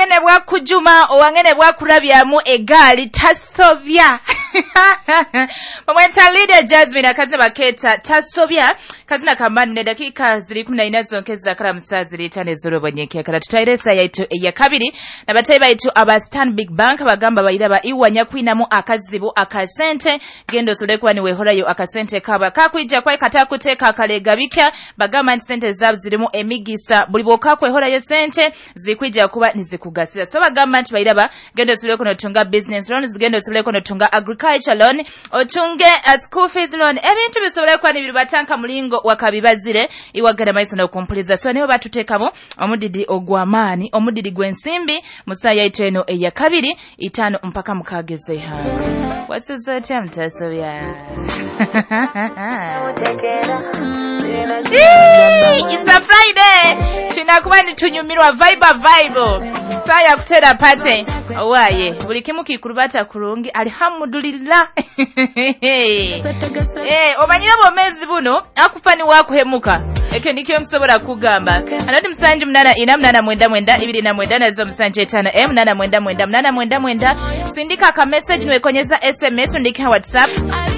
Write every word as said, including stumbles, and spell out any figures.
Owangene bwakujuma, owangene bwakurabyamu egaali tasobya. Bamweta Lydia Jasmine, akazina baketa Tasobya, kazina kamani. Ne dakiika ziri kumi na ina zonke zakara musaa ziri itaano ez'olwobonyeke kala tutwaire esa yaitu eyakabiri nabatayi baitu aba Stanbic Bank. Bagamba bairaba iwa nyakwinamu akazibu akasente, genda osobole kuba niwehorayo akasente kaba kakwija kwai katakuteeka akalega bikya. Bagamba nti sente zaabo zirimu emigisa, buli bwokakwehorayo sente zikwija kuba nizikugasira. So bagamba nti bairaba genda osobole notunga business loans, genda osobole notunga agriculture loan, otunge uh, school fees loan, ebintu bisobole kuba nibiribatanka mulingo wakabibazire. Iwagenda maiso nokumpuliza. So nibo batuteekamu omudidi ogw'amaani, omudidi gw'ensimbi musaa yaitu eno eyakabiri, itaano mpaka mukaaga ez'eihanga. Wasuze otya mutasobya? It's a Friday, tunakuba nitunyumirwa vibe vibe saa ya kutera pate owaye buli kimu kikurubata kurungi, alhamdulillah. Eh, omanyire obwomeezi buno akufa niwakuhemuka, ekyo nikyo nkusobola kugamba. Anati musanju munana ina munana mwenda mwenda ibiri na mwenda nazo musanju etaano e munana mwenda mwenda munana mwenda mwenda. Sindika aka message niwekonyeza S M S, undike WhatsApp.